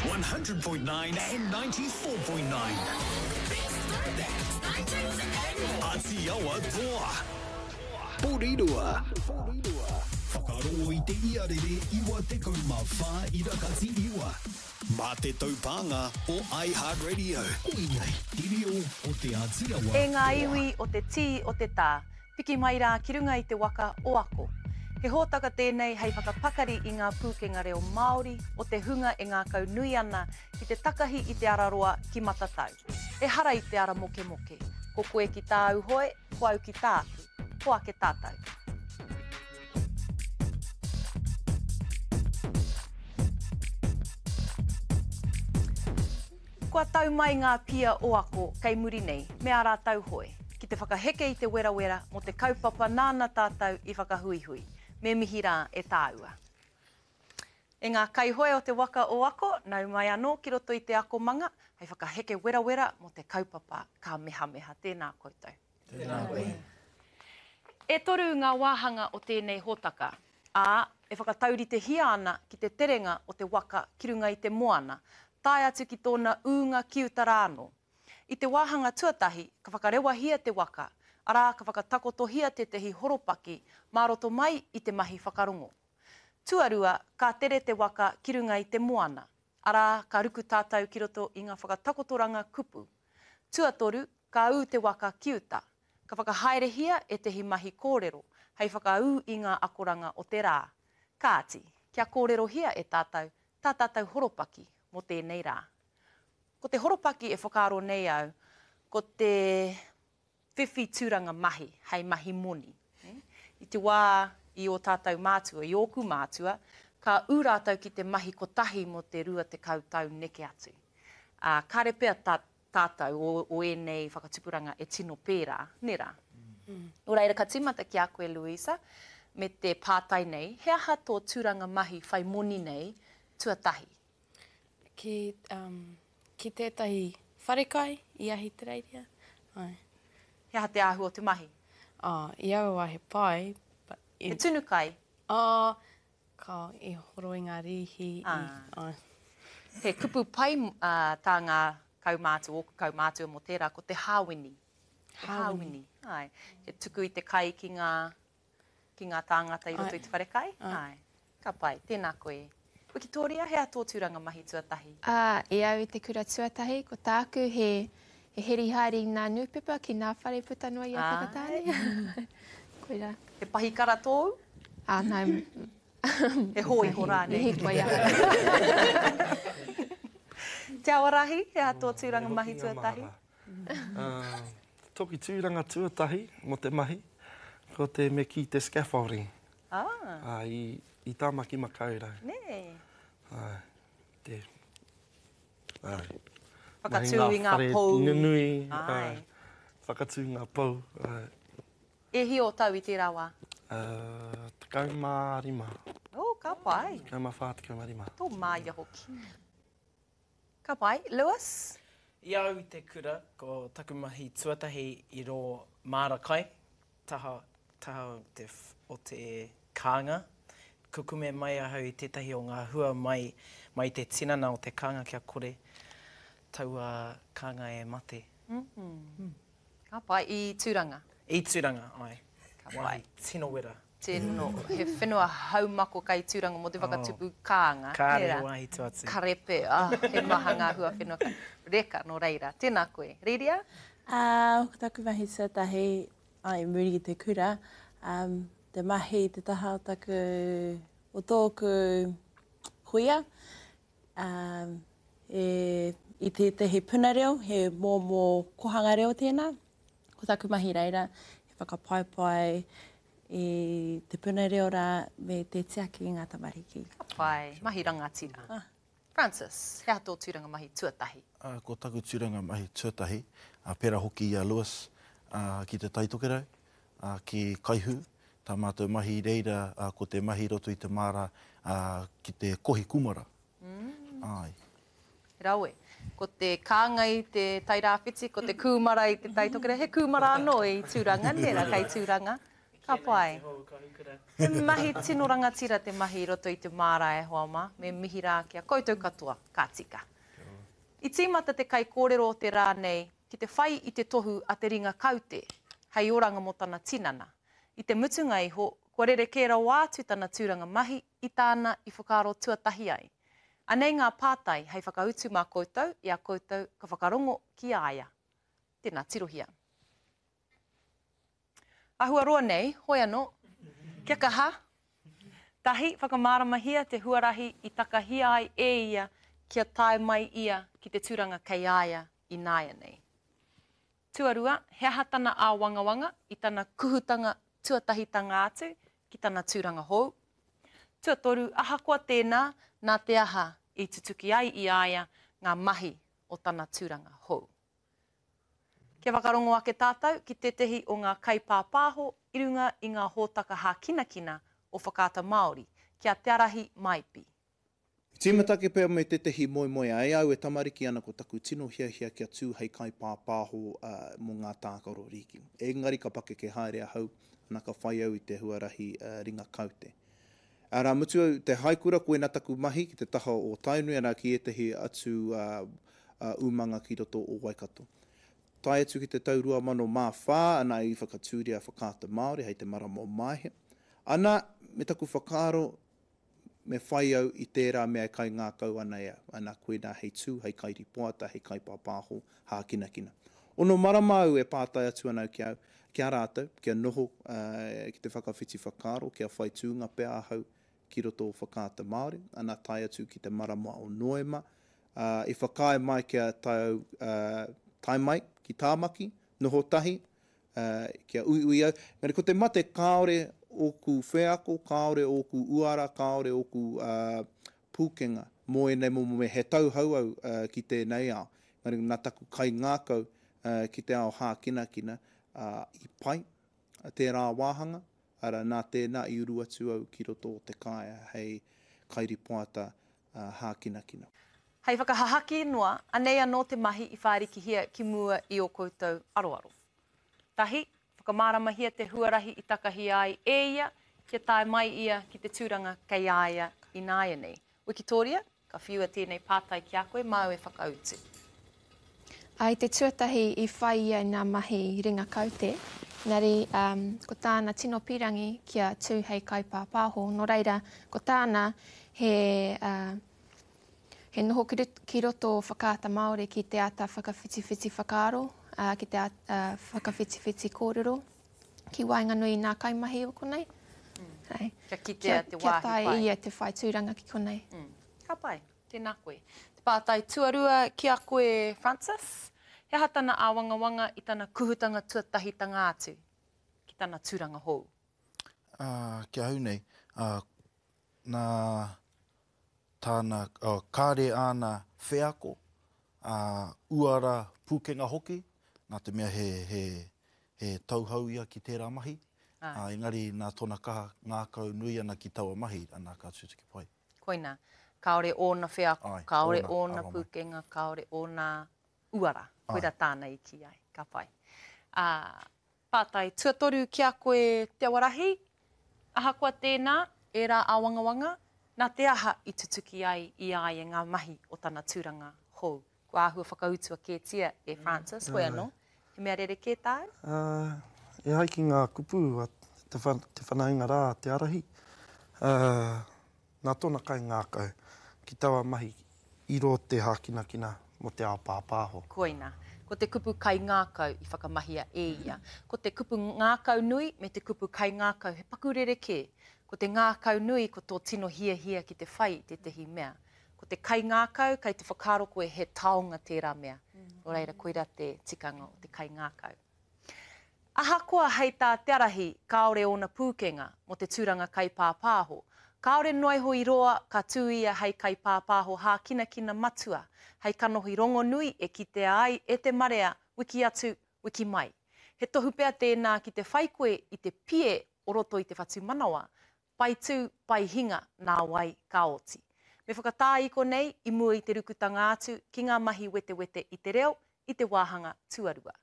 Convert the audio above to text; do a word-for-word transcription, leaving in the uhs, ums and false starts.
One hundred point nine and ninety-four point nine. Atiawa Toa. Porirua. Whakarongo i te iarere iwa tekau mā whā irakati iwa. Mā te taupānga o iHeartRadio. Koinei, te reo o Te Atiawa. E ngā iwi o te tī o te tā, piki mai rā ki runga i te waka o ako. He hōtaka tēnei hei whakapakari i ngā pūkenga reo Māori o te hunga e ngākau nui ana ki te takahi i te araroa ki Matatau. Ehara i te ara mokemoke. Ko koe ki tāu hoe, ko au ki tāku. Ko ake tātou. Kua tau mai ngā pia o ako kei muri nei, me ā rātou hoe, ki te whakaheke i te werawera mō te kaupapa nāna tātou i whakahuihui. Me mihi rā e tāua. E ngā kaihoe o te waka o ako, nau mai anō ki roto i te akomanga, hei whakaheke werawera mō te kaupapa ka mehameha. Tēnā koutou. Tēnā koe. E toru ngā wāhanga o tēnei hōtaka, ā, e whakatauritehia ana ki te terenga o te waka ki runga i te moana, tae atu ki tōna ūnga ki uta rā anō. I te wāhanga tuatahi, ka whakarewahia te waka, arā ka whakatakotohia tētahi horopaki mā roto mai i te mahi whakarongo. Tuarua, ka tere te waka ki runga i te moana, arā ka ruku tātou ki roto i ngā whakatakotoranga kupu. Tuatoru, ka ū te waka ki uta. Ka whakahaerehia ētahi mahi kōrero, hei whakaū i ngā akoranga o te rā. Kāti, kia kōrerohia e tātou, tā tātou horopaki mō tēnei rā. Ko te horopaki e whakaaro nei au, ko te whiwhi tūranga mahi, hei mahi moni. I te wā i o tātou mātua, i ōku mātua, ka ū rātou ki te mahi kotahi mō te rua tekau tau neke atu. Ā, kāre pea tā, tātou o, o ēnei whakatupuranga e tino pērā, nē rā. Mm. Nō reira, ka tīmata ki a koe, Louisa, me te pātai nei, he aha tō tūranga mahi whai moni nei tuatahi? Ki, um, ki tētahi wharekai i Ahitereiria. Ai. He aha te āhua o te mahi? Oh, i aua wā he pai. But i... He tunu kai? Oh, ka i horo i ngā rīhi. Ah. I, ai. He kupu pai uh, tā ngā kaumātua, ōku kaumātua mō tērā, ko te hāwini. Te hāwini. Ai. He tuku i te kai ki ngā, ki ngā tāngata i roto Ai. i te wharekai. Ai. Ai. Ka pai, tēnā koe. Wikitoria, he aha tō tūranga mahi tuatahi? Uh, i au i te kura tuatahi, ko tāku he, he heri haere i ngā nūpepa ki ngā whare puta noa i a Whakatāne. Koirā. He pahikara tōu? Ah, no. He hōiho rānei. He hīkoi ahau. Te Awarahi, he aha tō tūranga mahi tuatahi? Uh, toki tūranga tuatahi mō te mahi, ko te me ki te scaffolding. Ah. Uh, i, i Tāmaki Makaurau. Nē. Uh, te, ai. Whakatū i ngā whare pou. Nunui, Ai. ai. Whakatū ngā pou. Ai. E hi o tau i tērā wā? Uh, tekau mā rima. Oh, ka pai. Tekau mā whā, tekau mā rima. Tō māia hoki. Ka pai. Lewis? I au i te kura, ko taku mahi tuatahi i rō māra kai, taha, taha te, o te kānga. Kukume mai ahau i tētahi o ngā hua mai, mai te tinana o te kānga kia kore taua kānga e mate. Mm-hmm. Ka pai, i Tūranga? I Tūranga, ai. Ka pai. Wāhi tino wera. Tino, he whenua haumako kai Tūranga mō te whakatupu kānga. Kāre Nērā? wāhi tu atu. Karepe, ah, he maha ngā hua whenua. Reka, nō reira. Tēnā koe. Riria? Uh, ko taku mahi tuatahi, ai, muri i te kura, um, te mahi te taha o taku, o tōku huia, um, e, i tētahi puna reo, he mōmō kohanga reo tēnā. Ko taku mahi reira, he whakapaipai i te puna reo rā me te tiaki i ngā tamariki. Ka pai, mahi rangatira. Ah. Francis, he aha tō tūranga mahi tuatahi? Uh, ko taku tūranga mahi tuatahi, uh, pērā hoki i a Lewis, uh, ki te Taitokerau, uh, ki Kaihu. Tā mātou mahi reira, uh, ko te mahi roto i te māra, uh, ki te kohi kumara. Mm. Ai. Rawe. Ko te kānga i te Tairāwhiti, ko te kūmara i te Taitokerau. He kūmara anō i Tūranga, nē rā, kei Tūranga. Ka Kēnei pai. te hou kahukura. He mahi tino rangatira te mahi i roto i te māra e hoa mā, me mihi rā ki a koutou katoa, ka tika. I tīmata te kaikōrero o te rā nei ki te whai i te tohu a te ringa kaute, hei oranga mō tana tinana. I te mutunga iho, kua rerekē rawa atu tana tūranga mahi i tāna i whakaaro tuatahi ai. Anei ngā pātai hei whakautu mā koutou i a koutou ka whakarongo ki a ia. Tēnā, tirohia. Āhua roa nei, hoi anō, kia kaha. Tahi, whakamāramahia te huarahi i takahia ai e ia kia tae mai ia ki te tūranga kei a ia ināianei. Tuarua, he aha tana āwangawanga i tana kuhutanga tuatahitanga atu ki tana tūranga hou. Tuatoru, ahakoa tēnā, nā te aha i tutuki ai i a ia ngā mahi o tana tūranga hou. Kia whakarongo ake tātou ki tētehi o ngā kaipāpāho i runga i ngā hōtaka hākinakina o Whakaata Māori, ki a Te Arahi Maipi. I tīmata ake pea me tētehi moemoeā e au e tamariki ana ko taku tino hiahia kia tū hei kaipāpāho mō ngā tākaro rīki. Engari ka pakeke haere ahau, ana ka whai au i te huarahi ringa kaute. Arā, mutu au te haikura, koina taku mahi ki te taha o Tainui, arā ki ētehi atu umanga ki roto o Waikato. Tae atu ki te tau rua mano mā whā, ana i whakatūria Whakaata Māori hei te marama o Maehe. Ana, me taku whakaaro, me whai au i tērā mea e kaingākau ana e au. Ana, koinā hei tū, hei kairipoata, hei kaipāpāho, hākinakina. Ono marama au e pātai atu ana au ki au, ki a rātou, kia noho ki te whakawhiti whakaaro, kia whai tūnga pea ahau ki roto o Whakaata Māori. Ana, tae atu ki te marama o Noema, i whakaae mai kia tae au, tae mai ki Tāmaki, noho tahi, kia uiui au. Engari ko te mate kāore ōku wheako, kāore ōku uara, kāore ōku pūkenga mō ēnei momo mea. He tauhou au ki tēnei ao. Engari nā taku kaingākau ki te ao hākinakina i pai tērā wāhanga, arā, nā tēnā i uru atu au ki roto o te kāea hei kairipoata hākinakina. Hei whakahahaki noa, anei anō te mahi i whārikihia ki mua i ō koutou aroaro. Tahi, whakamāramahia te huarahi i takahia ai e ia, kia tae mai ia ki te tūranga kei a ia ināianei. Wikitoria, ka whiua tēnei pātai ki a koe, māu e whakautu. Ai te tuatahi i whai ia i ngā mahi ringa kaute, engari um, ko tāna tino pīrangi kia tū hei kaipāpāho. Nō reira, ko tāna he, uh, he noho ki roto Whakaata Māori ki te ata whakawhitiwhiti whakaaro, uh, ki te ata uh, whakawhitiwhiti kōrero, ki waenganui i ngā kaimahi o konei. Mm. Ai. Kia kitea te Kia wāhi tae pai. ia te whai tūranga ki konei. Mm. Ka pai, tēnā koe. Te pātai tuarua ki a koe, Francis, he aha tana āwangawanga i tana kuhutanga tuatahitanga atu ki tana tūranga hou? Uh, ki ahau nei, uh, nā tāna, uh, kāre āna wheako, uh, uara pūkenga hoki, nā te mea he, he, he tauhou ia ki tērā mahi, Ai. uh, engari nā tōna kaha ngākau nui ana ki taua mahi, ana ka tutuki pai. Koina, kāore ōna wheako, Ai, kāore ōna, ōna aroha mai. pūkenga, kāore ōna uara. Koira tāna i ki ai, ka pai. Uh, pātai tuatoru ki a koe Te Awarahi, ahakoa tēnā, ērā āwangawanga, nā te aha i tutuki ai i a ia ngā mahi o tana tūranga hou. Kua āhua whakautua kētia e Francis, hoi anō, he mea rerekē tāu? Uh, e ai ki ngā kupu a te, wha, te whanaunga rā, Te Arahi, uh, nā tōna kaingākau ki taua mahi i rō te hākinakina mō te ao pāpāho. Koina, ko te kupu kaingākau i whakamahia e ia. Ko te kupu ngākau nui me te kupu kaingākau he paku rerekē. Ko te ngākau nui ko tō tino hiahia ki te whai tētehi mea. Ko te kaingākau kei te whakaaro koe he taonga tērā mea. Nō reira, koira te tikanga o te kaingākau. Ahakoa hei tā Te Arahi, kāore ōna pūkenga mō te tūranga kaipāpāho. Kāore noa iho i roa ka tū ia hei kaipāpāho hākinakina matua, hei kanohi rongonui e kitea ai e te marea wiki atu, wiki mai. He tohu pea tēnā ki te whai koe i te pie o roto i te whatumanawa, pai tū, pai hinga, nā wai ka oti. Me whakatā i konei i mua i te rukutanga atu ki ngā mahi wetewete i te reo i te wāhanga tuarua.